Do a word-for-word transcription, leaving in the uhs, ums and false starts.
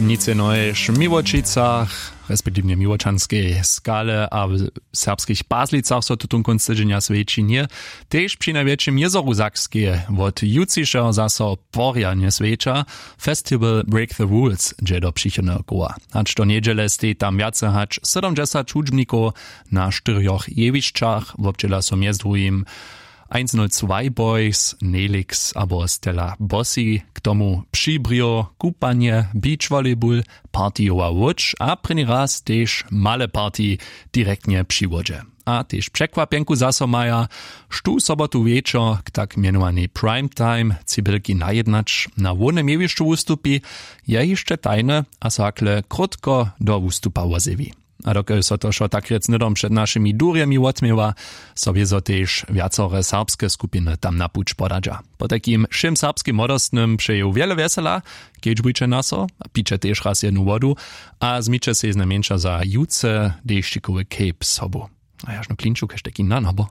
Nic je nojež w Miłočicach, respektiwnje w Miłočanskej Skale a w serbskich Pazlicach so tutón kónc tydźenja swjeći nje. Tež při najwjetšim jězoru Sakskeje wot jutřišeho zaso porjadnje swjeća. Festival Break the Rules dźe do přichodneho koła. Hač do njedźele stej tam wjace hač sydomdźesać hudźbnikow na štyrjoch jewišćach. Wobdźěla so mjez druhim eins null zwei Boys, Nelix abo Stella Bossi, k tomu přibrjo, kupanje, beach volleyball, partijowa łódź a prěni raz tež male party direktnje při wodźe. A tež překwapjenku zaso maja, štó sobotu wječor k tak mjenowanej prime time cibylki najednać na hłownym jewišću wustupi, je hišće tajne a so hakle krótko do wustupa wozjewi. A dokelž so to wšo tak rjec hnydom před našimi durjemi wotměła, so wězo tež wjacore serbske skupiny tam na puć podadźa. Potajkim wšěm serbskim młodostnym přeju wjele wjesela, kedźbujće na so a piće tež raz jednu wodu a změće sej znajmjeńša za jutře dešćikowy cape sobu. A jažnu klinču kaž taki nan abo